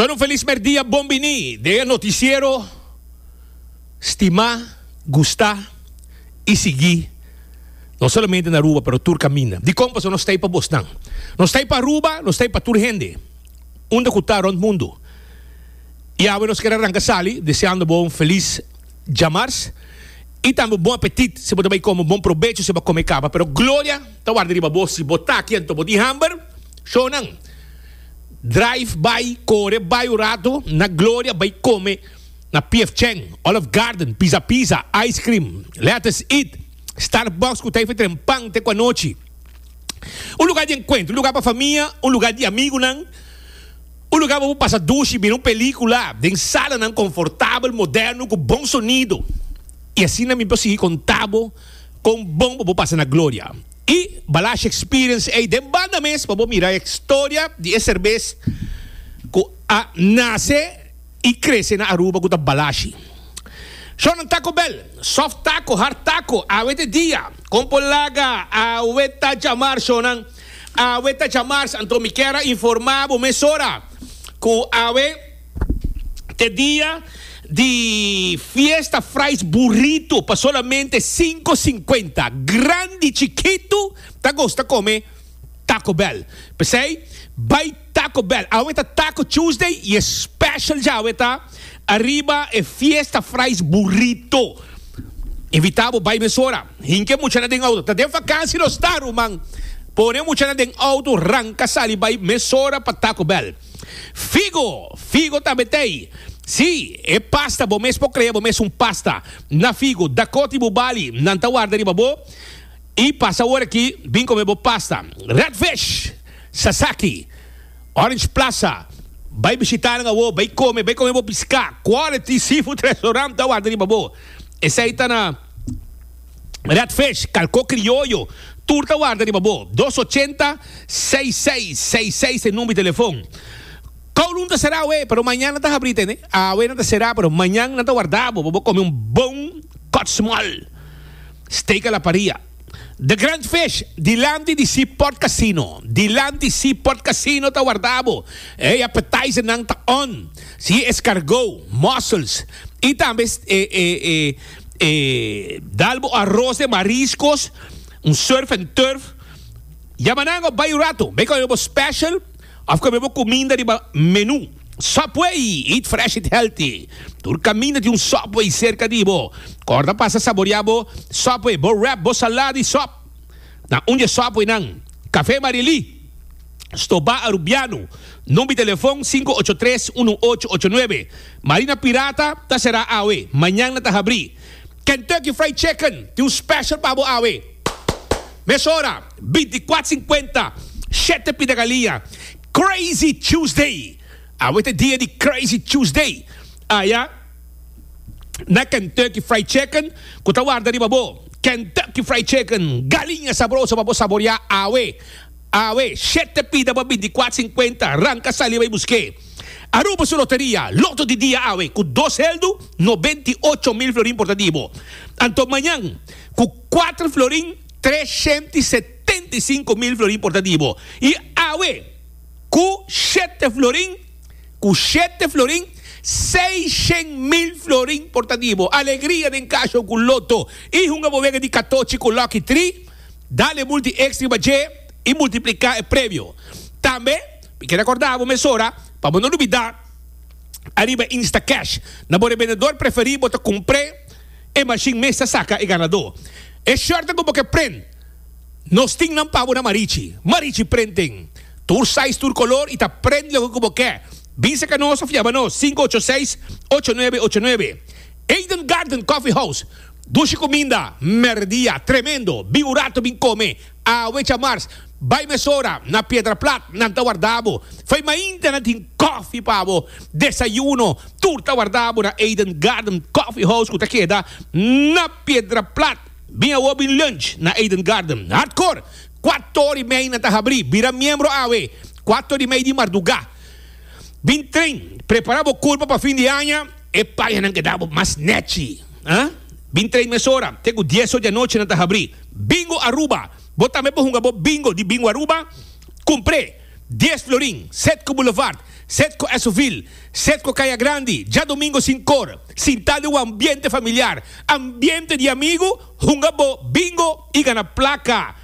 Shon un felis merdia bon bini den e noticiero stima, gusta y sigui no solamente na Aruba pero tur caminda. Dicon? Pasobra nos ta ey pa bosnan. Nos ta ey pa Aruba, nos ta ey pa tur hende unda cu ta rond mundo. Y awe nos kier a ranca sali deseando bo un felis djamars y tambe un bon apetit si bo ta bay come, un bon probecho si bo a come caba. Pero gloria ta warda riba bo si bo ta aki anto bo tin hamber. Shownan. Drive bai, kore bai un rato na Gloria bai kome na PF Chang, Olive Garden, Pizza Pizza, Ice Cream, Let Us Eat, Starbucks ku ta efe tren pan te ku anochi. Un lugar di enkuentro, un lugar pa famia, un lugar di amigunan, un lugar pa bo pasa dushi, mira un pelikula den salanan konfortabel, moderno ku bon sonido. I asina mi por sigui konta bo kon bon bo por pasa na Gloria. I Balashi Experience ei den banda mes pa bo mira e storia di e serbes ku a nase i krese na Aruba ku ta Balashi. Shownan Taco Bell, soft taco, hard taco, awe ta e dia. Kon por laga awe ta djamar shownan, awe ta djamars anto mi kier a informa bo mesora ku awe Te dia di fiesta fries burrito pa solamente cinco cincuenta. Grandi chikitu ta gusta come Taco Bell. P'esei bai Taco Bell. Awe ta Taco Tuesday y e special djawe ta ariba e fiesta fries burrito. Invita bo bai mesora. Hinca e muchanan den auto. Ta den vakantie nos ta ruman. Pone e muchanan den auto ranca sali bai mesora pa Taco Bell. Figo, figo tambe t'ei. Sí, e pasta, bo mes por krea bo mes un pasta na figo. Dakota i Bubali, nan ta warda riba bo i pasa awor aki bin kome bo pasta. Red Fish, Sasaki, Orange Plaza, bai bishita nan awor, bai kome, bai kome bo piská. Quality Seafood Restaurant ta warda riba bo. Esei ta na Red Fish, Kalko Krioyo, tur ta warda riba bo. Dos ochenta, seis seis, seis seis e number di telefon. Kowloon ta será awe, pero mañan nan ta habrí tende. Awe nan ta será, pero mañan nan ta warda bo pa bo kome un bon kòt small steak a la parilla. The Grand Fish, dilanti di Seaport Casino. Dilanti Seaport Casino ta warda bo. E appetizernan ta on. Si escargot, mussels y tambe e e e e dal bo arroz de mariscos, un surf and turf. Yama nan of bay un rato. Bay come bo special of come bo cuminda riba menu. Subway, eat fresh, eat healthy. Tur caminda tin un Subway cerca di bo. Corda pasa saborea bo Subway, bo wrap, bo salada y sop na un di e Subwaynan. Café Marily, Stoba Arubiano, number di telefon sinku ocho tres unu ocho ocho nuebe. Marina Pirata ta será awe, mañan nan ta habrí. Kentucky Fried Chicken tin un special pa bo awe. Mesora, binticuatro cincuenta, shete pida galiña. Crazy Tuesday! Awe ta e dia di Crazy Tuesday aya na Kentucky Fried Chicken cu ta warda riba bo. Kentucky Fried Chicken, galiña sabroso pa bo saborea awe. Awe, shete pida pa binticuatro cincuenta, ranca sali bay busque. Aruba su loteria, loto di dia awe cu dos heldu, 98,000 florin por ta di bo. Anto mañan cu cuatro florin, 375,000 florin por ta di bo. Y awe cu shete florin, cu shete florin, 600,000 florin por ta di bo. Alegria den casho cu loto y hunga bo wega di catochi cu Lucky Tree. Dale multi X riba dje i multipliká e premio. Tambe, mi ke rekordá bo mesora pa bo no lubidá ariba Instacash. Na bo rebendedor preferí bo ta kumpr'é, e mashin mes ta saka e ganadó. E shirtnan ku bo ke prent, nos tin nan pa bo na Marichi. Marichi Printing. Tur size, tur kolor i ta prent loke ku bo ke. Bin saka nos òf yama nos, 586 8989. Eden Garden Coffee House. Dushi kuminda, merdia, tremendo, bin un rato bin kome, awe djamars, bai mesora na Piedra Plat, nan ta warda bo, fai mainta nan tin kofi pa bo, desayuno, tur ta warda bo na Eden Garden Coffee House ku ta keda na Piedra Plat, bin awo bin lunch na Eden Garden, hardcore, kuator i mei nan ta habri, bira miembro awe, kuator i mei di marduga, bin train, prepara bo kurpa pa fin di aña. E pañanan keda bo mas nechi. Ah? Bin train mesora, te ku dies or di anochi nan ta habri. Bingo Aruba! Bo tambe por hunga bo bingo di Bingo Aruba. Kumpr'é! Dies florin, Setco Boulevard. Setco Esovil, Setco Caya Grandi, djadomingo sinkor, sintá den un ambiente familiar, ambiente di amigu, hunga bo bingo i gana plaka.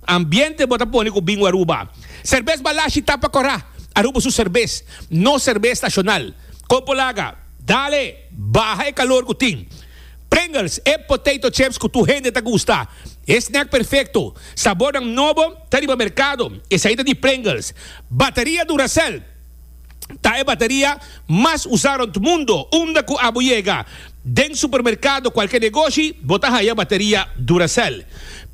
Ambiente bo ta pone ku Bingo Aruba. Serbes Balashi tapa kòrá, Aruba su serbes, nos serbes nashonal. Kon por laga? Dale! Baha e kalor ku tin. Pringles, e potato chips ku tur hende ta gusta. E snack perfekto. Sabornan nobo ta riba merkado. Esei ta di Pringles. Bateria Duracell ta e bateria mas usá rònt mundo. Unda ku abo yega, den supermerkado, kualke negoshi, bo ta haya bateria Duracell.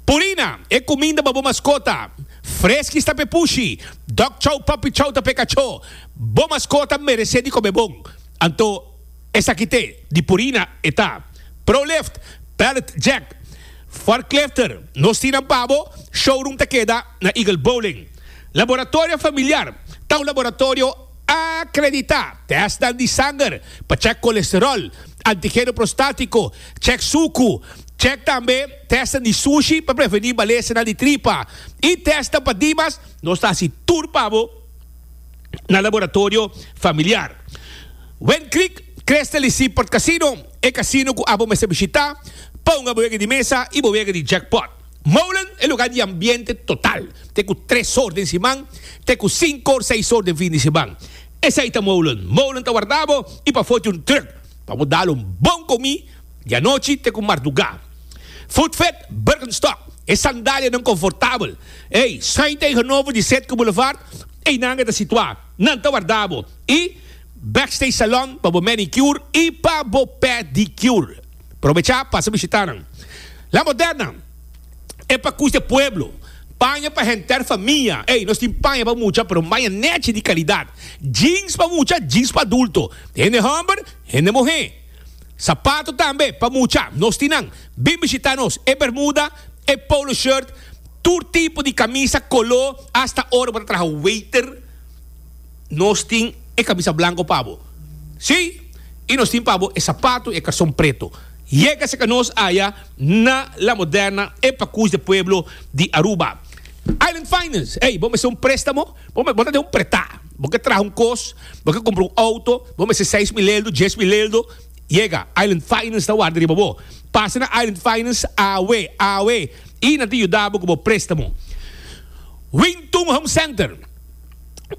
Purina, e kuminda pa bo maskota. Freskis ta p'e pushi. Dog chow, puppy chow ta p'e kachó. Bo maskota meresé di kome bon. Anto esaki te di Purina e ta. Prolift, Pallet Jack, Forklifter, nos tin nan pa bo, showroom ta keda na Eagle Bowling. Laboratorio Familiar ta un laboratorio akreditá, tèstnan di sanger pa chèk kolesteròl, antigeno prostátiko, chèk suku, chèk tambe tèstnan di sushi pa prevení malesanan di tripa i tèstnan pa dimas, nos ta hasi tur pa bo. na Laboratorio Familiar. Wind Creek, Crystal y Seaport Casino, e casino cu abo mester bishita pa hunga bo wega di mesa y bo wega di jackpot. Molen, e lugar di ambiente total, te cu tres or den siman, te cu cinco or seis or den fin di siman. Esey ta Molen. Molen ta warda bo y pafo tin un truck pa bo dal un bon comi di anochi te cu marduga. Footfit, Birkenstock, e sandalianan confortabel. Ey, schuin tegenover di Setco Boulevard, eynan e ta situá. Nan ta warda bo. Y Backstage Salon pa bo manicure y pa bo pedicure. Probechá, pasa bishitá nan. La Moderna, e pakus di e pueblo. Paña pa henter famia. Ey, nos tin paña pa mucha, pero un paña nechi di calidad. Jeans pa mucha, jeans pa adulto. Hende homber, hende muhé. Sapato tambe pa mucha, nos tin nan. Bin bishita nos, e bermuda, e polo shirt, tur tipo di camisa, colo, hasta ora bo ta traha waiter, nos tin e camisa blanco pa bo. Si, y nos tin pa bo e sapato y e carson preto. Yega cerca nos aya na La Moderna, e pacus de pueblo di Aruba. Island Finance, ey, bo mester un prestamo? Bo bo ta den un pretá. Bo ke traha un kos, bo ke kumpra un outo, bo mester 6000 eldo, 10,000 eldo, yega, Island Finance ta warda riba bo. Pasa na Island Finance awe, awe, i nan ta yuda bo ku bo préstamo. Wingtun Home Center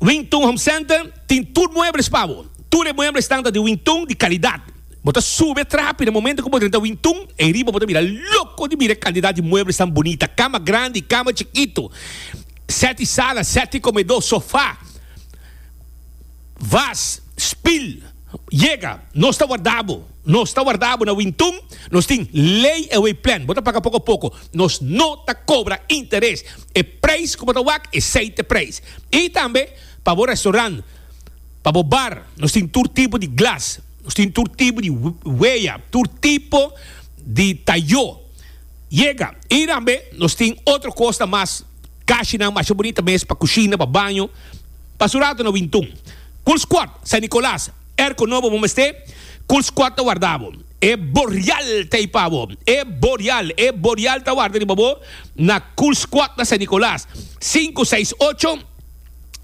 Wingtun Home Center tin tur muebles pa bo. Tur e mueblesnan ta di Wingtun di kalidat. Bo ta sube trapi na momento ku bo drenta Wingtun, ei riba bo ta bira loko di mira e kantidat di mueblesnan bunita, kama grandi, kama chikitu. Seti sala, seti komedó, sofá, vas, spil. Yega, nos ta warda bo. Nos ta warda bo na Wintun. Nos tin lay away plan. Bo ta paga poko poko. Nos no ta kobra interes. E preis ku bo ta wak, esei ta e preis. I tambe pa bo restaurant, pa bo bar, nos tin tur tipo di glas, nos tin tur tipo di wea, tur tipo di tayó. Yega. I tambe nos tin otro kosnan mas. Kashinan masha bunita mes pa kushina, pa baño. Pasa un rato na Wintun. Cool Squad, San Nicolas, Airco nobo bo mester? Cool Squad ta warda bo. E Boreal ta ei pa bo. E Boreal, e Boreal ta warda riba bo na Cool Squad na San Nicolas. Sinku seis ocho,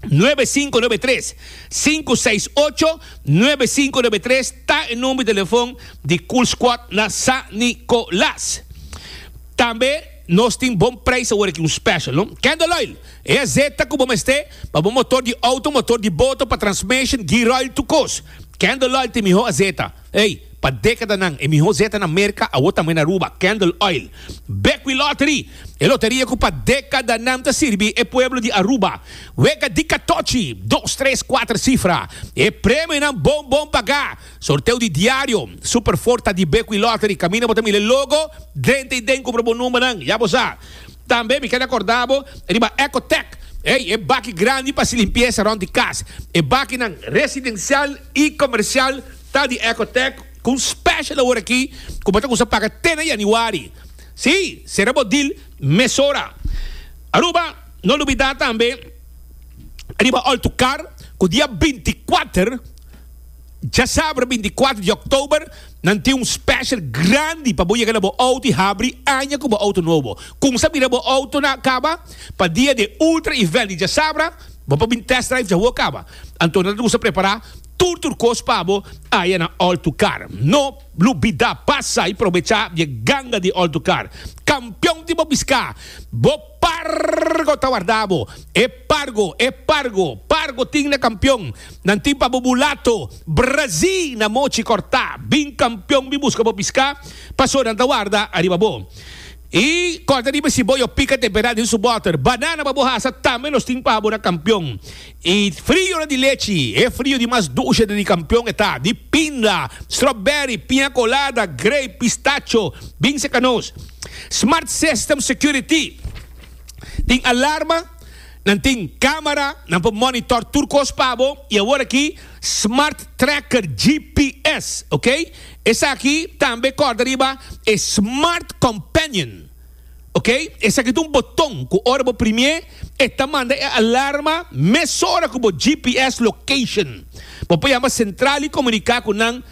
nuebe sinku nuebe tres. Sinku seis ocho, nuebe sinku nuebe tres ta e number di telefon di Cool Squad na San Nicolas. Tambe. Nos tin bon prijs awor aki, un special, no? Candle oil, e azeta cu bo mester pa bo motor di auto, motor di boto, pa transmission, gear oil, tur cos. Candle oil ta e miho azeta. Ey, pa decadanan e miho zeta na Merca, awor tambe na Aruba, Candle oil. Bequi Lottery, e loteria cu pa decadanan ta sirbi e pueblo di Aruba. Wega di catochi, dos, tres, cuater cifra. E premionan bon bon paga. Sorteo di diario, Super Ford ta di Bequi Lottery, caminda bo ta mira e logo, drenta y den cumpra bo numbernan, ya bo sa. Tambe mi keda corda bo riba Ecotec, ey, e baki grandi pa haci limpieza rond di cas. E bakinan residencial y comercial ta di Ecotec cu un special awor aki cu bo ta cuminsa paga te na januari. Si, cera bo deal mesora. Aruba, no lubida tambe riba Altucar cu dia 24. Djasabra 24 di oktober nan tin un special grandi pa bo yega na bo auto y habri aña cu bo auto nobo. Cumsa mira bo auto na caba pa dia di e ultra event di djasabra. Bo por bin test drive djawo kaba. Anto nan ta gusta prepara tur tur kos pa bo aya na All to Car. No lubida pasa y probecha di e ganga di All to Car. Kampion di bo bisca. Bo pargo ta warda bo. E pargo, e pargo, pargo tin na kampion. Nan tin pa bo bulato, brazi na mochi korta. Bin kampion bin buska bo pisca, paso nan ta warda ariba bo. I kòrda riba si bo yo pika temperá den su bòter. Banana pa bo hasa tambe nos tin pa bo na kampion. I frionan di lechi, e frio di mas dushe di kampion e ta, di pinda, strawberry, piña colada, grape, pistacho. Bin seka nos. Smart System Security tin alarma, nan tin camera, nan por monitor tur cos pa bo y awor aki Smart Tracker GPS, ok. Esaki tambe corda riba e Smart Companion, ok. Esaki ta un boton cu ora bo primie e ta manda e alarma mesora cu bo GPS location. Bo por yama central y comunica cu nan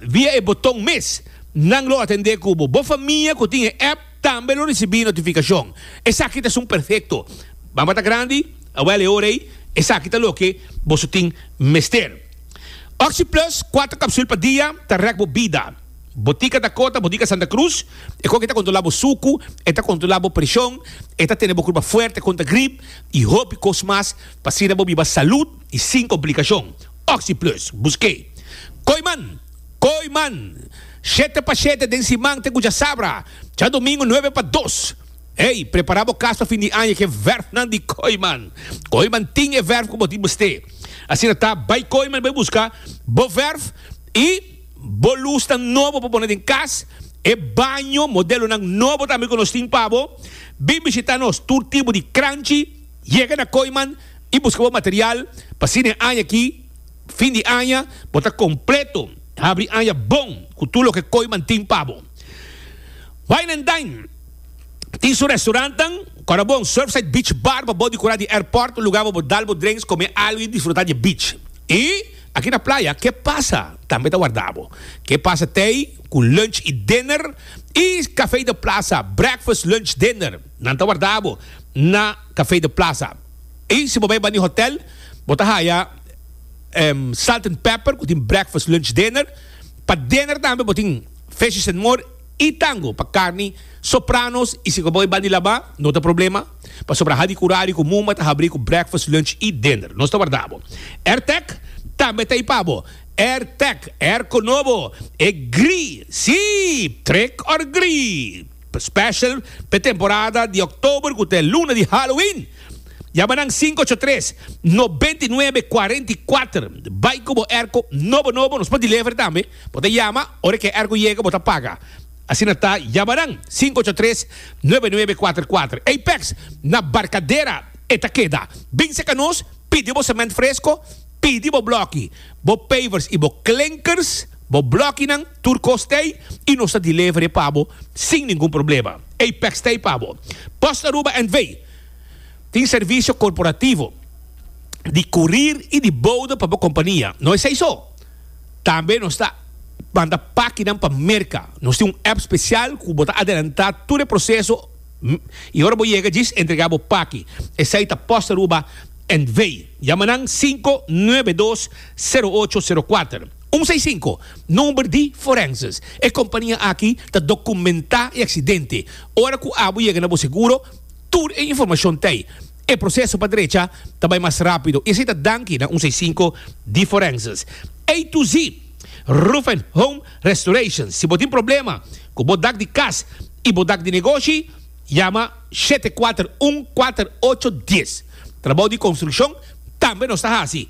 via e boton mes. Nan lo atende cu bo. Bo famia cu tin e app tambe lo ricibi notificacion. Esaki ta esun perfecto. Bamba ta grandi, awel e ora ey, esaki ta loke boso tin mester. Oxi Plus, cuatro capsul pa dia, ta rek bo bida. Botica Dakota, Botica Santa Cruz, e koki ta controla bo sucu, e ta controla bo presion, e ta tene bo curpa fuerte contra grip y hopi cos mas pa asina bo biba salud y sin complicacion. Oxi Plus, busk'e. Kooiman! Kooiman! Shete pa shete den siman te cu djasabra, djadomingo nuebe pa dos. Ey, prepara bo cas pa fin di aña cu e verfnan di Kooiman. Kooiman tin e verf cu bo tin mester. Asina ta, bay Kooiman bay busca bo verf y bo lusnan nobo pa pone den cas, e baño, modelonan nobo tambe cu nos tin pa bo. Bin bishita nos tur tipo di cranchi. Yega na Kooiman y busca bo material pa asina e aña aki, fin di aña, bo ta completo. Habri aña bon cu tur loke Kooiman tin pa bo. Wine and Dine tin su restaurantnan, Corabon, Surfside Beach Bar pa bo di cura di airport, un lugar pa bo dal bo drinks, come algo y disfruta di e beach. Y aki na playa, Ke Pasa tambe ta warda bo. Ke Pasa t'ey cu lunch y dinner y Café de Plaza, breakfast, lunch, dinner. Nan ta warda bo na Café de Plaza. Y si bo bay bani hotel, bo ta haya Salt and Pepper cu tin breakfast, lunch, dinner. Pa dinner tambe bo tin Fishes and More. Y tango pa carni, sopranos y si bo bay di laba no ta problema pasobra ha di curari cu muma ta habri cu breakfast, lunch y dinner. Nos ta warda bo. Airtec tambe ta y pa bo. Airtec, airco nobo, e gri, si, trick or gri, special p'e temporada di october cu ta e luna di Halloween. Yama nan 583 99 44. Bay cu bo airco nobo nobo, nos por deliver tambe. Bo ta yama, ora ku e airco yega bo ta paga. Asina ta, yama nan, 583 9944. Apex, na Barcadera e ta keda. Bin seka nos, pidi bo cement fresco, pidi bo bloki, bo pavers y bo klinkers, bo blokinan, tur kos t'ei y nos ta deliver e pa bo sin ningun problema. Apex t'ei pa bo. Post Aruba NV. Tin servicio corporativo di courier y di bode pa bo compania. No esei so. Tambe nos ta manda pakinan pa Merka. Nos tin un app spesial ku bo ta adelantá tur e proseso i ora bo yega djis entregá bo paki. Esei ta Post Aruba NV. Yama nan 592 0804. 165, Number di Forenses. E kompania aki ta dokumentá e aksidente. Ora ku abo yega na bo seguro, tur e informashon ta ei. E proceso pa drecha ta bai mas rapido y esey ta danki na un 65 di Forenses. A to Z Roof and Home Restoration. Si bo tin problema cu bo dak di cas y bo dak di negoshi, yama 741 4810. Trabou di construccion tambe nos ta haci.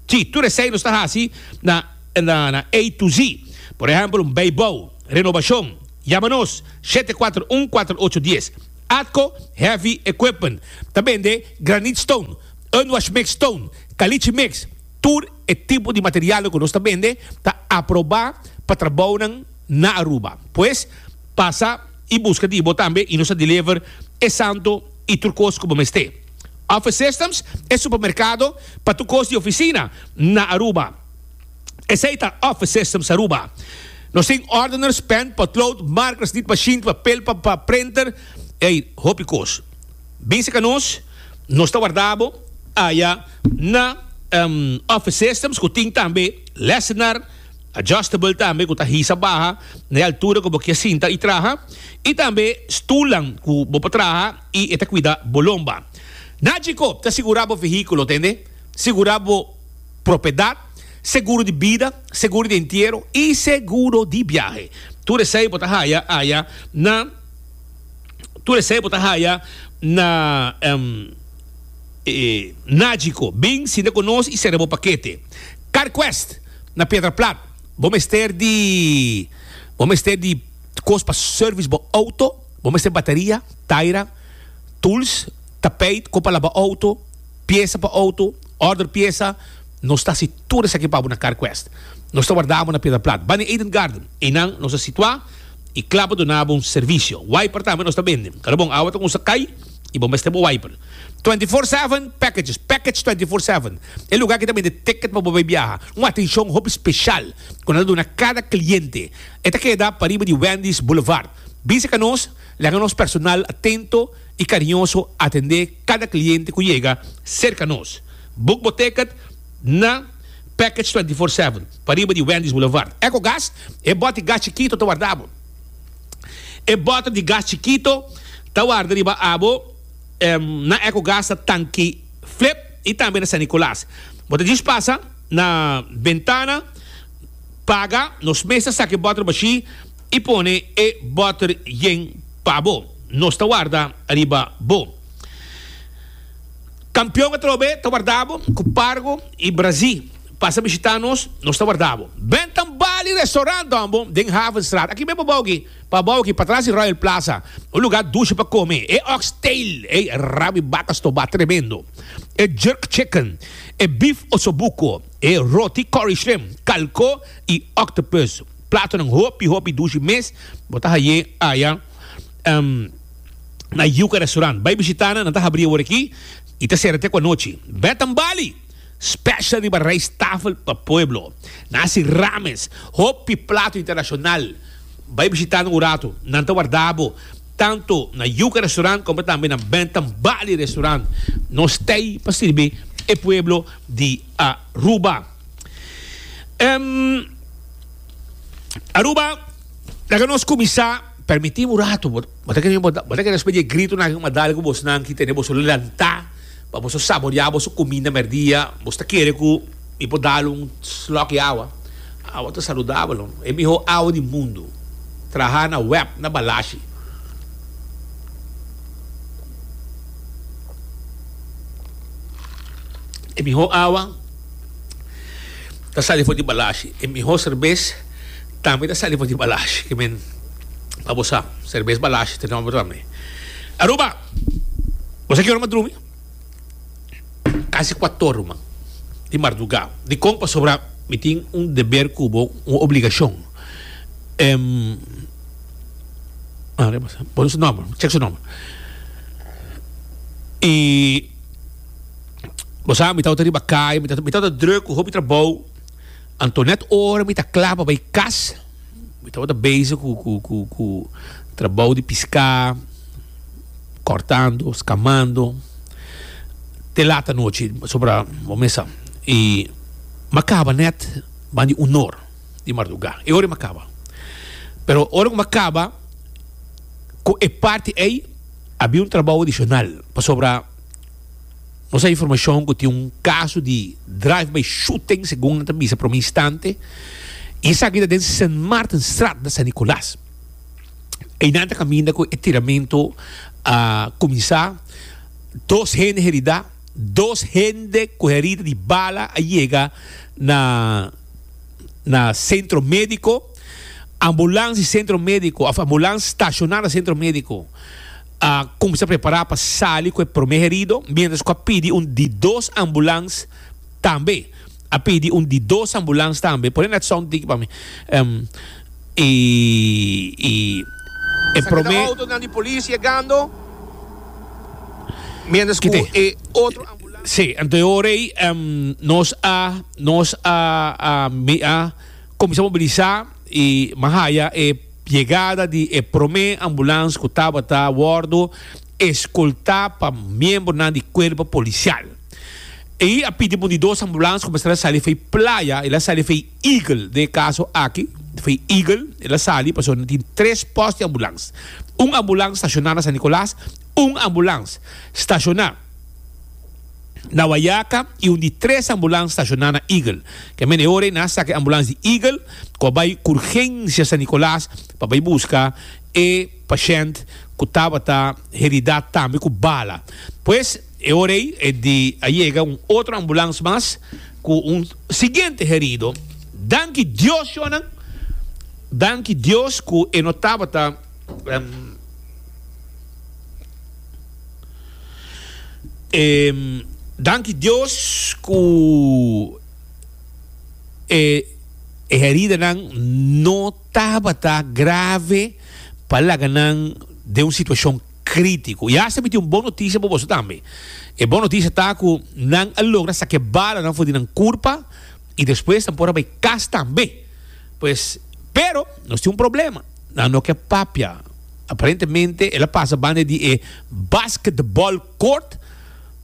Si, tur esey nos ta haci na na A to Z. Por ehempel un bijbouw, renobacion, yama nos 741 4810. Atco Heavy Equipment ta bende granite stone, unwash mix stone, caliche mix, tur e tipo di materialnan cu nos ta bende ta aproba pa trabounan na Aruba. Pues pasa y busca di bo tambe y nos ta deliver e santo y tur cos cu bo mester. Office Systems e supermercado pa tur cos di oficina na Aruba. Esey ta Office Systems Aruba. Nos tin ordeners, pen, potlood, markers, nitmachine, papel pa pa printer, ey, hopi cos. Bin seca nos, nos ta warda bo. aya na Office Systems ku tin tambe lessenaar adjustable tambe ku ta hisa baha na e altura ku bo kier sinta i traha i tambe stulnan ku bo por traha i e ta kuida bo lomba. Nagico ta sigura bo vehíkulo tende, sigura bo propiedat, seguro di bida, seguro di entiero i seguro di biahe. Tur esei bo ta haya aya na tur esei bo ta haya na Nagico. Bin sinta ku nos i sera bo pakete. CarQuest na Piedra Plat. Bo mester di bo mester di kos pa service bo auto, bo mester bateria, taira, tools, tapijt, ko pa laba auto, piesa pa auto, order piesa, nos ta hasi tur esaki pa bo na CarQuest. Nos ta warda bo na Piedra Plat, banda Eden Garden. Einan nos ta situa i kla pa duna bo un servisio. Wiper tambe nos ta bende. Kada bon awa ta kumsa kai i bo mester bo wiper. 24/7 packages, package 24/7. E lugar ki ta bende ticket pa bo bai biaha. Un atencion hopi special ku nan ta duna kada cliente. E ta keda pariba di Wendy's Boulevard. Bisa ka nos, laga nos personal atento i cariñoso atende kada cliente ku yega serka nos. Book bo ticket na Package 24/7 pariba di Wendy's Boulevard. Ecogas, e bòt di gas chikito ta warda bo. E bòter di gas chikito ta warda riba abo na Ecogas na Tanki Flip i tambe na San Nicolas. Bo ta djis pasa na bentana, paga, nos mes ta saka e bòter bashí i pone e bòter yen pa bo. Nos ta warda riba bo. Kampion atrobe ta warda bo ku Pargo i Brazí. Pasa bishita nos, nos ta warda bo. Bentham Bali Restaurant hombo den Havenstraat. Aki ben pabou aki, pabou aki, patras di Royal Plaza. Un lugar dushi pa come. E oxtail, ey rabi baka stobá, tremendo. E jerk chicken, e beef osobuco, e roti curry shrimp, calco y octopus. Platonan hopi hopi dushi mes bo ta haye aya na Yuca Restaurant. Bai bishita nan, nan ta habri awor aki y ta sera te cu anochi. Bentham Bali! Special riba rijsttafel pa pueblo. Nasi Rames, hopi plato internacional. Bai bishita nan un rato. Nan ta warda bo tanto na Yuca Restaurant como tambe na Bentham Bali Restaurant. Nos t'ey pa sirbi e pueblo di Aruba. Aruba, laga nos cuminsa. Permiti un rato, bo ta kere bo ta kere despues di e gritonan aki cu mi a dal cu bosnan ki tene boso lanta. Pa boso saboreá boso kuminda mèrdia, boso ta kere ku mi por dal un slòk di awa? Awa ta saludabel, no? E mihó awa di mundu, trahá na wèp na Balashi. E mihó awa ta sali for di Balashi. E mihó serbes tambe ta sali for di Balashi. Ke men, pa bo sa, serbes Balashi ta nòmber tambe. Aruba! Bo sa ki ora mi a drumi? Kasi kuator ruman di mardugá. Dikon? Pasobra mi tin un deber ku bo, un obligashon. Pone su nòmber, chek su nòmber. I bo sa mi tabata riba kaya, mi tabata drùk ku hopi trabou. Anto nèt ora mi ta kla pa bai kas, mi tabata bezig ku trabou di piská. Cortando, scamando, te laat anochi pasobra bo mesa y m'a caba net ban di unor di marduga e ora m'a caba pero ora cu m'a caba cu e parti ey a bin un trabao adicional pasobra nos a informacion cu tin un caso di drive by shooting segun nan ta bisa prome instante y esaki ta den Sint Maartenstraat na San Nicolas. Einan ta kaminda ku e tiramentu a kuminsá. Dos hende heridá, dos hende ku herida di bala a yega na na sentro médiko. Ambulans di sentro médiko òf ambulans stashoná na sentro médiko a kuminsá prepará pa sali ku e promé herido, miéntras ku a pidi un di dos ambulans tambe. A pidi un di dos ambulans tambe. Pone net sound tiki pa mi. Y y e Esaki ta prome. autonan di polis yegando mientras cu Kite. e otro ambulans. Sí, anto e ora ei nos a nos a a mi a cuminsa mobilisa y mi a haya e yegada di e prome ambulans cu tabata wordo escolta pa miembronan di cuerpo policial. Ei a pidi pa un di dos ambulans ku mester a sali fei Playa, el a sali fei Eagle den e kaso aki, fei Eagle el a sali pasobra tin tres pòst di ambulans. Un ambulans stashoná na San Nicolas, un ambulans stashoná na Wayaca i un di tres ambulans stashoná na Eagle. Ke men e ora ei nan a saka e ambulans di Eagle ku a bai ku urgensia San Nicolas pa bai buska e pashènt ku tabata heridá tambe ku bala. Pues e ora ei e di a yega un otro ambulans mas ku un siguiente herido. Danki Dios shonnan, danki Dios ku e no tabata. Danki Dios ku e heridanan no tabata grave pa laga nan den un situashon krítiko. I asta mi tin un bon notisia pa boso tambe. E bon notisia ta ku nan a logra saka e balanan for di nan kurpa i despues nan por a bai kas tambe. Pues, pero nos tin un problema. Nan no ke papia. Aparentemente el a pasa banda di e basketball court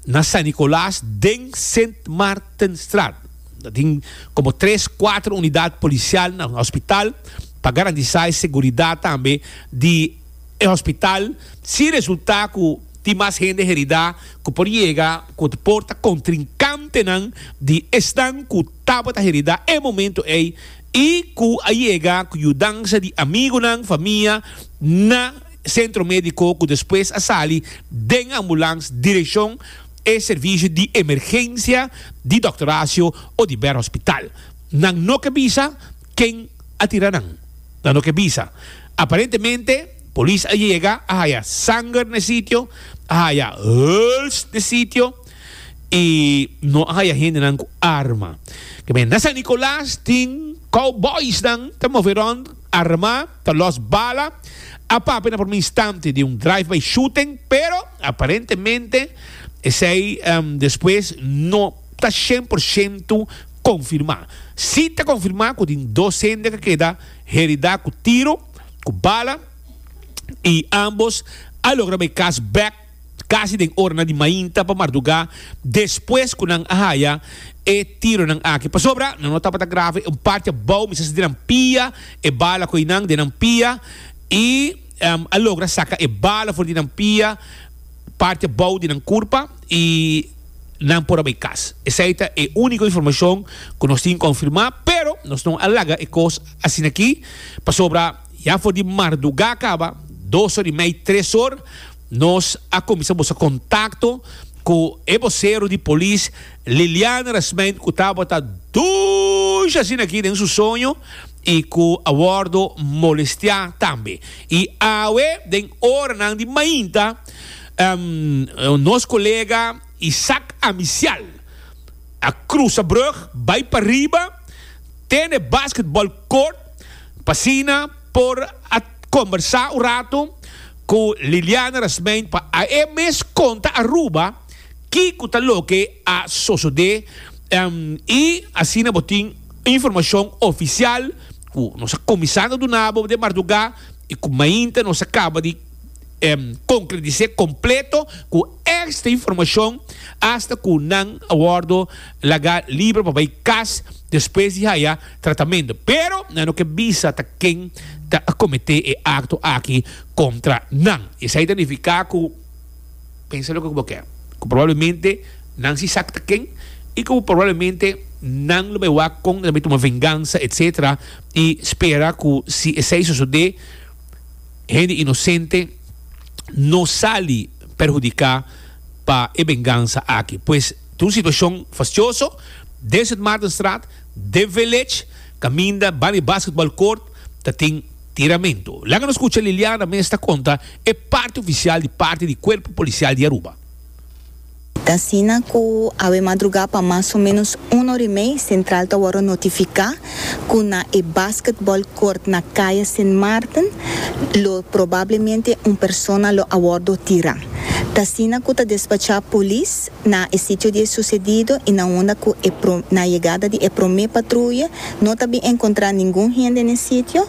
na San Nicolas den Sint Maartenstraat. Ta tin como tres, cuatro unidad policial na hospital pa garantisa e seguridad tambe di e hospital si resulta cu tin mas hende herida cu por yega cu por ta contrincantenan di esnan cu tabata herida e momento ey i ku a yega ku yudansa di amigunan, famia na sentro mediko ku despues a sali den ambulans direkshon e servisio di emergensia di Dòkter Horacio Oduber Hospital. Nan no ke bisa ken a tira nan. Nan no ke bisa. Aparentemente polis a yega a haya sanger na e sitio, a haya huls na e sitio. i no a haya hendenan ku arma. Ke men na San Nicolas tin cowboysnan ta move rond armá, ta los bala. A papia na prome instante di un drive-by shooting, pero aparentemente esei despues no ta shen por shento konfirmá. Si ta konfirmá ku tin dos hende ku a keda heridá ku tiro, ku bala, i ambos a logra bai kas bèk. Casi den oranan di mainta pa marduga despues cu nan a haya e tironan aki. Pasobra nan no tabata grave, un parti abao mester sa den nan pia, e bala cu eynan den nan pia y a logra saca e bala for di nan pia, parti abao di nan curpa y nan por a bay cas. Esey ta e unico informacion cu nos tin confirma, pero nos no a laga e cos asina aki pasobra ya for di marduga caba, dos or y mey, tres or, Nos a kuminsá buska kontakto ku e bosero di polis Liliana Rasmijn ku tabata dushi asina aki den su soño i ku a wòrdu molestiá tambe. I awe den oranan di mainta nos kolega Isaac Amisial a krusa brug bai pariba te na e basketball court pa asina por a kombersá un rato ku Liliana Rasmijn pa a e mes konta Aruba kiko ta loke a sosodé i asina bo tin informashon ofisial ku nos a kuminsá na duna bo den mardugá i ku mainta nos a kaba di konkretis'é kompleto ku èkstra informashon asta ku nan a wòrdu laga liber pa bai kas despues di haya tratamentu. Pero nan no ke bisa ta ken ta a kometé e akto aki kontra nan. Esei ta nifiká ku, pensa loke ku bo ke, ku probablemente nan si sa ta ken i ku probablemente nan lo bai wak kon nan ta bai tuma vengansa etsetera i spera ku si esei sosodé hende inosente no sali perhudiká pa e vengansa aki. Pues ta un situashon fastioso den Sint Maartenstraat. Den Village, kaminda banda di basketball court ta tin tiramento. Laga nos skucha Liliana mes ta konta e parti ofisial di parti di Kuerpo Polisial di Aruba. Ta asina ku awe madrugá pa mas o ménos un ora i mei Sentral ta wòrdu notifiká ku na e basketball court na Kaya Sint Maarten lo probablemente un persona lo a wòrdu tirá. Ta asina ku ta despachá polis na e sitio di e susedido i na unda ku e na yegada di e promé patruye no ta bin enkontrá ningun hende na e sitio.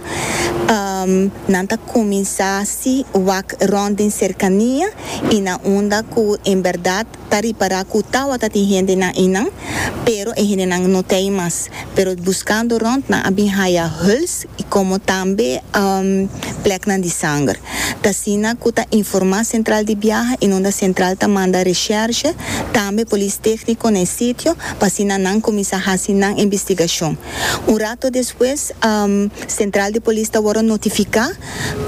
Nan ta kuminsá si wak rònt den serkania i na unda ku en bèrdat ta ripará ku tawata tin hendenan einan, pero e hendenan no ta ei mas. Pero buskando rònt nan a bin haya huls i komo tambe plèknan di sanger. Ta asina ku ta informá sentral di biaha i nunda sentral ta manda reshèrshe, tambe polis tékniko na e sitio pa asina nan kuminsá hasi nan investigashon. Un rato despues sentral di polis ta wòrdu notifiká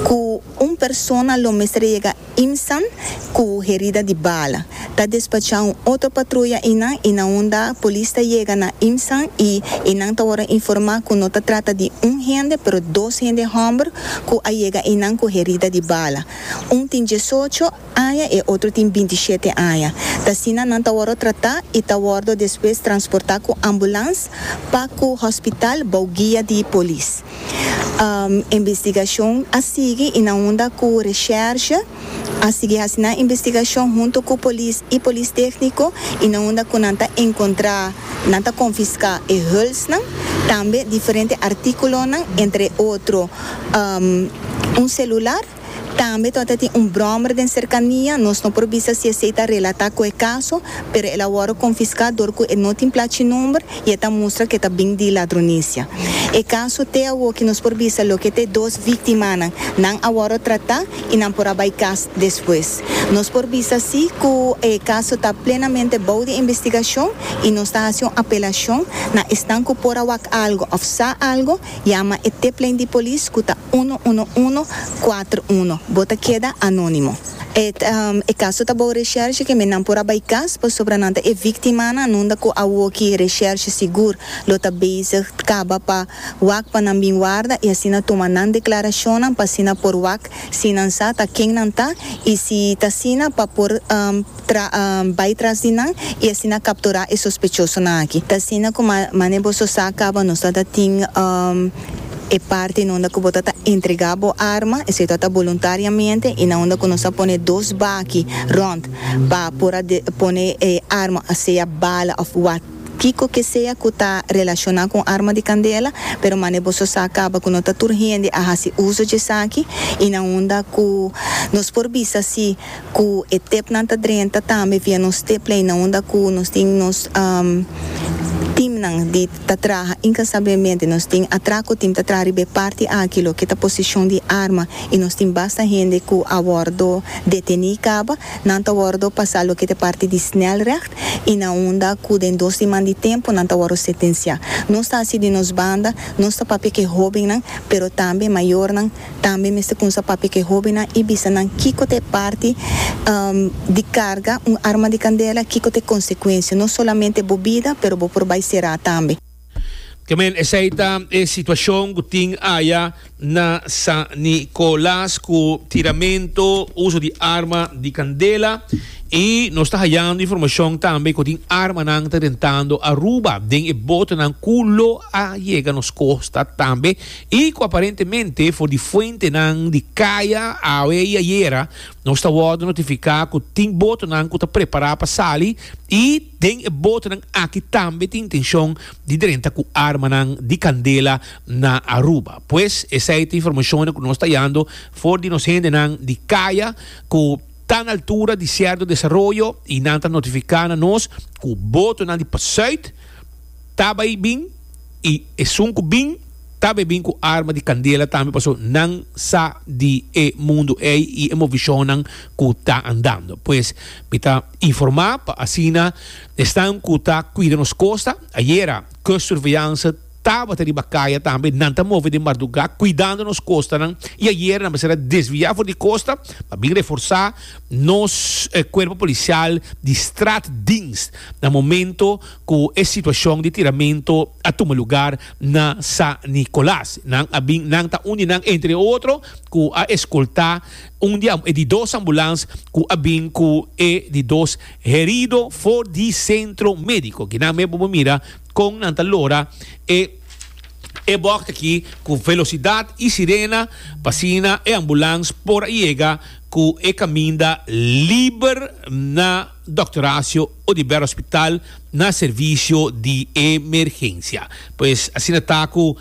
ku un persona lo mester yega Imsan ku herida di bala. Ta despachá un otro patruya einan i na unda polis ta yega na Imsan i einan ta wòrdu informá ku no ta trata di un hende pero dos hende hòmber ku a yega einan ku herida di bala. Un tin diesocho aña e otro tin bintishete aña. Ta asina nan ta wòrdu tratá i ta wòrdu despues transportá ku ambulans pa ku hospital bou guia di polis. Investigashon a sigui i na unda ku reshèrshe a sigui hasi nan investigashon huntu ku polis i polis tékniko i na unda ku nan ta enkontrá nan ta konfiská e hulsnan, tambe diferente artíkulonan entre otro un selular. Tambe tabata tin un bròmer den serkania, nos no por bisa si esei ta relatá ku e kaso, pero el a wòrdu konfiská dor ku e no tin plachi number i e ta mustra ku e ta bin di ladronisia. E kaso te awoki nos por bisa loke ta e dos víktimanan, nan a wòrdu tratá i nan por a bai kas despues. Nos por bisa si ku e kaso ta plenamente bou di investigashon i nos ta hasi un apelashon na esnan ku por a wak algu òf sa algu, Yama e tiplijn di polis ku ta uno uno uno kuater uno. Bo ta keda anónimo. E e kaso ta bou reshèrshe ke men nan por a bai kas pasobra nan ta e víktimanan nunda ku awoki reshèrshe sigur lo ta bezig kaba pa wak pa nan bin warda i asina tuma nan deklarashonnan pa asina por wak si nan sa ta ken nan ta i si ta asina pa por tra bai tras di nan i asina kapturá e sospechosonan aki. Ta asina ku mane boso sa kaba nos ta ta tin e parti na unda ku bo ta ta entregá bo arma, esei ta ta boluntariamente i na unda ku nos a pone dos baki rònt pa por a pone e arma sea bala òf wat. Kiko ke sea ku ta relashoná ku un arma di kandela, pero mane boso sa kaba ku no ta tur hende a hasi uso djesaki i na unda ku nos por bisa si ku e tepnan ta drenta tambe via nos teplijn na unda ku nos tin nos timnan di ta traha inkansablemente nos tin atrako tim ta traha riba e parti aki loke ta posishon di arma i nos tin basta hende ku a wòrdu detení kaba nan ta wòrdu pasa loke ta e parti di snelrecht. i na unda ku den dos siman di tempu nan ta wòrdu sentensiá. Nos ta hasi di nos banda, nos ta papia ku e hóbennan, pero tambe mayornan tambe mester kumsa papia ku e hóbennan i bisa nan kiko ta e parti di karga un arma di kandela, kiko ta e konsekuensia, no solamente bo bida, pero bo por bai será tambe. Ke men esei ta e situacion cu tin aya na San Nicolas cu tiramento, uso di arma di candela y nos ta hayando informacion tambe cu tin armanan ta rentando Aruba den e botonan cu lo a yega nos costa tambe y cu aparentemente for di fuentenan di caya awe y ayera nos ta wordo notifica cu tin botonan cu ta prepara pa sali y Den e botonan aki tambe tin intencion di drenta cu armanan di candela na Aruba. Pues esey ta informacionnan cu nos ta yando for di nos hendenan di caya cu ta na altura di cierto desaroyo y nan ta notifica na nos cu botonan di pasuit ta bay bin y esun cu bin ta bay bin cu arma di candela tambe paso nan sa di e mundo ey y e movicionnan cu ta andando. Pues mi ta informa pa asina esnan cu ta cuida nos costa. Ayera Kustsurveillance tabata riba caya tambe, nan ta move den marduga cuidando nos costanan y ayera nan mester a desvia for di costa pa bin reforsa nos cuerpo policial di straatdienst na momento cu e situacion di tiramento a tuma lugar na San Nicolas. Nan a bin, nan ta un di nan entre otro cu a escolta un di e di dos ambulans cu a bin cu e di dos herido for di centro medico. Kinan me bo por mira con nan ta lora e e bocht aki cu velocidad y sirena pa asina e ambulans por a yega. ku e kaminda liber na Dòkter Horacio Oduber Hospital na servisio di emergensia. Pues asina ta ku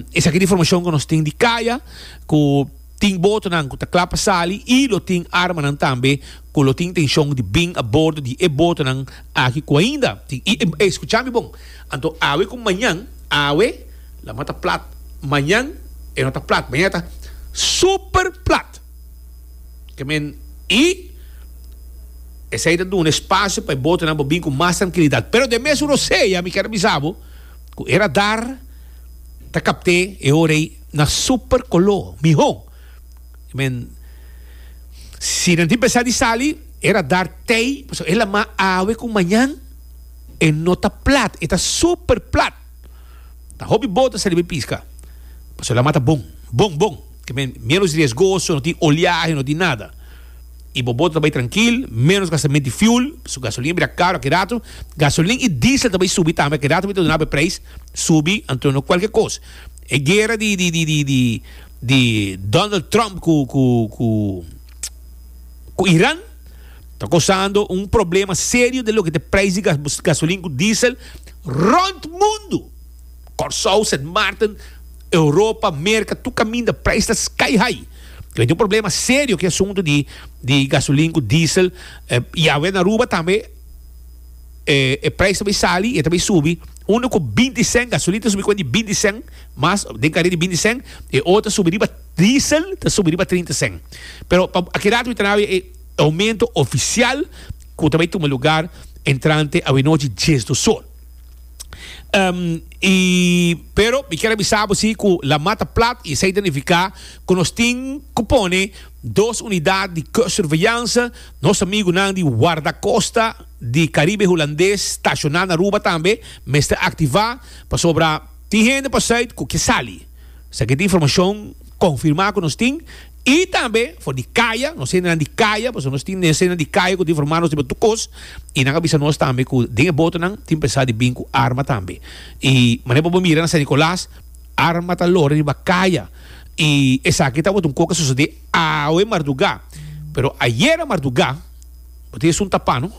esaki ta informashon ku nos tin di kaya ku tin botonan ku ta kla pa sali i lo tin armanan tambe ku lo tin intenshon di bin a bordo di e botonan aki ku ainda tin i e skucha mi bon anto awe ku mañan awe lama ta plat mañan e no ta plat mañan e ta super plat ke men i esei ta duna espasio pa e botonan por bin ku mas trankilidat pero den mes un rosea mi kier a bisa bo ku e radar ta kapt'é e ora ei na super koló mihó. Men, si nan tin pensá di sali, e radar tei, pasobra e lamá awe ku mañan e no ta plat, e ta super plat. Ta hopi boto a sali bai piska, pasobra e lamá ta bon, bon, bon. Ke men, ménos riesgoso, no tin oleahe, no tin nada. I bo boto ta bai trankil, ménos gastamento di fuel, pasobra gasolin a bira karo aki rato. Gasolin i diesel ta bai subi tambe, aki rato mi ta duna bo e preis subi, anto no kualke kos. E guera di di di di di di Donald Trump ku ku ku ku Iran ta kosando un problema serio den loke ta e prijs di gasolin ku diesel rond mundu. Kòrsou, Sint Maarten, Europa, Merka, tur kaminda prijs ta sky high. Tin un problema serio ku e asuntu di di gasolin ku diesel i awe na Aruba tambe e prijs ta bai sali i e ta bai subi unu ku binti sèn gasolin ta subi ku di binti sèn mas den kare di binti sèn e otro ta subi riba diesel ta subi riba trinta sèn pero pa aki rato mi ta na e aumento ofisial ku ta bai tuma lugar entrante awenochi diesdos or i pero mi kier a bisa bo si ku la mata plat i esei ta nifiká ku nos tin ku pone dos unidat di kustsurveillance nos amigunan di wardakosta di Caribe Hulandes stashoná na Aruba tambe mester aktivá pasobra tin hende pa sùit ku ke sali. Esaki ta informashon konfirmá ku nos tin i tambe for di kaya, nos hendenan di kaya, pasobra nos tin nos hendenan di kaya ku ta informá nos riba tur kos i nan a bisa nos tambe ku den e botonan tin pensá di bin ku arma tambe. I manera bo por mira na San Nicolas arma ta lora riba kaya i esaki tabata un kos ku a sosodé awe mardugá pero ayera mardugá. Bo tin esun tapá, no?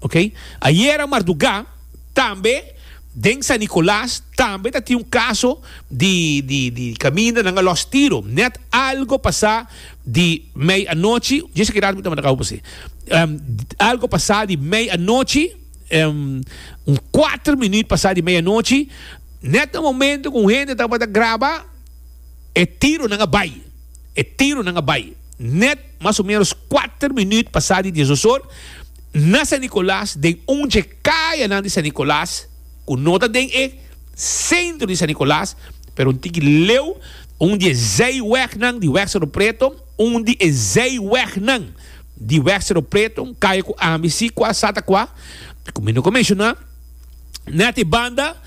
Ok. Ayera mardugá, tambe den San Nicolas, tambe ta tin un kaso di, di, di kaminda nan a lòs tiro. Nèt algo pasá di mei anochi, dje esaki rato mi tabata kaba pas'é. Algo pasá di mei anochi, un kuater minüt pasá di mei anochi, nèt na momento ku un hende tabata graba, e tironan a bai. E tironan a bai. Nèt mas o ménos kuater minüt pasá di diesdos or, na San Nicolas, den un dje kayanan di San Nicolas, ku no ta den e sentro di San Nicolas, pero un tiki leu, un di e zijwegnan di Weg Cerro Preto, un di e zijwegnan di Weg Cerro Preto, un kaya ku ami si kua sa ta kua, ku mi no ku menshoná, nèt e banda,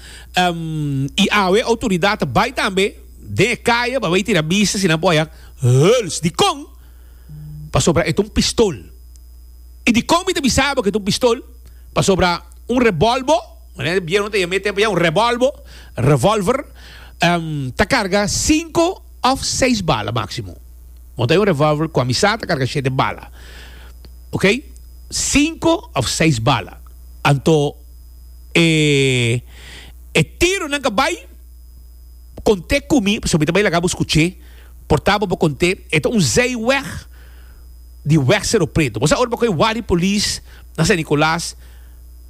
i awe outoridat ta bai tambe den e kaya pa bai tira bista si nan por haya Huls, dikon? Pasobra e ta un pistol. I dikon mi ta bisa bo ku e ta un pistol? Pasobra un rebolbo, manera e bieu nan ta yama e tempu ya, un rebolbo, revolver, ta karga sinku òf seis bala máksimo. Bo ta un revolver ku a mi sa ta karga shete bala. Oke? Sinku òf seis bala. Anto e e tironan ka bai kont'é ku mi, pasobra mi ta bai laga bo skuch'é. Por ta bo por kont'é, e ta un zijweg di Weg Cerro Preto. Bo sa ora bo kohe wak di polis na San Nicolas,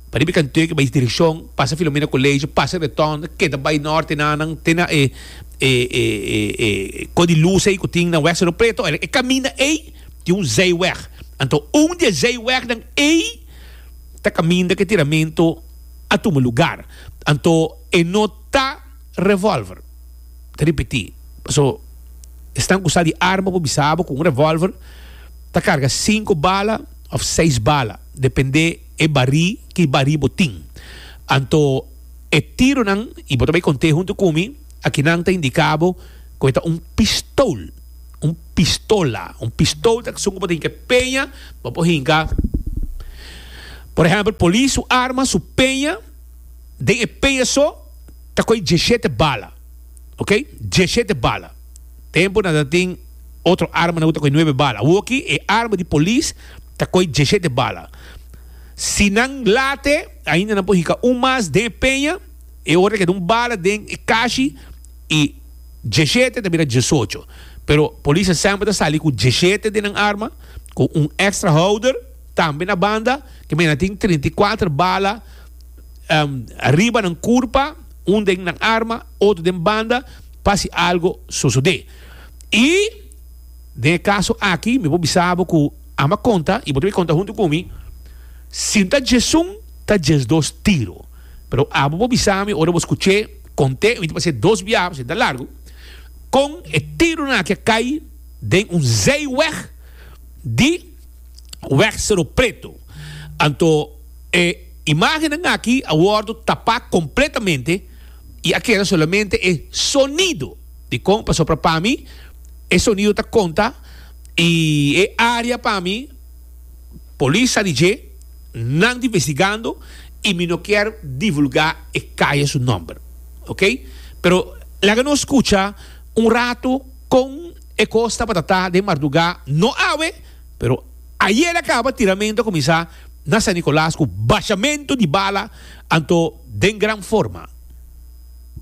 pa riba e kantoe bai direkshon, pasa Filomena Colegio, pasa Retonda, keda bai norte nanan te na e e e e e ko di lus ei ku tin na Weg Cerro Preto. E kaminda ei tin un zijweg. Anto un di e zijwegnan ei ta kaminda ku e tiramento a tuma lugar. Anto e no ta revolver. Ta ripití, paso esnan ku sa di arma por bisa bo ku un revolver ta karga sinku bala òf seis bala, dependé e barí ki barí bo tin. Anto e tironan, i bo ta bai kont'é huntu ku mi, akinan ta indiká bo ku e ta un pistol, un pistola. Un pistol ta esun ku bo ta hinka e peña, bo por hinka, por ehèmpel, polis su arma, su peña, den e peña so, ta koe dieshete bala, ok, dieshete bala. Tempu nan ta tin Otro armanan ku ta kohe nuebe bala. Awoki e arma di polis ta kohe diesshete bala. Si nan late, ainda nan por hinka un mas den e peña, e ora ta keda un bala den e kashi i diesshete ta bira diesocho. Pero polisnan semper ta sali ku diesshete den nan arma, ku un extra houder tambe na banda, ke mira nan tin 34 bala riba nan kurpa, un den nan arma, otro den banda, pa si algo sosodé. I den e kaso aki mi por bisa bo ku amo a konta i bo ta konta huntu ku mi, si ta djesun ta djesdos tiro. Pero abo por bisa mi ora bo skuch'é kont'é, mi ta pas'é dos biaha pasobra e ta largu, kon e tironan aki a kai den un zijweg di Weg Cerro Preto. Anto e imágennan aki a wòrdu tapá kompletamente i a keda solamente e sonido. Dikon? Pasobra pa mi e sonido ta konta i e área pa mi polis sa di dje, nan ta investigando i mi no kier divulgá e kaya su nòmber. Oke? Pero laga nos skucha un ratu kon e kos tabata ta den mardugá, no awe, pero ayera kaba tiramentu a kuminsá na San Nicolas ku bashamentu di bala anto den gran forma.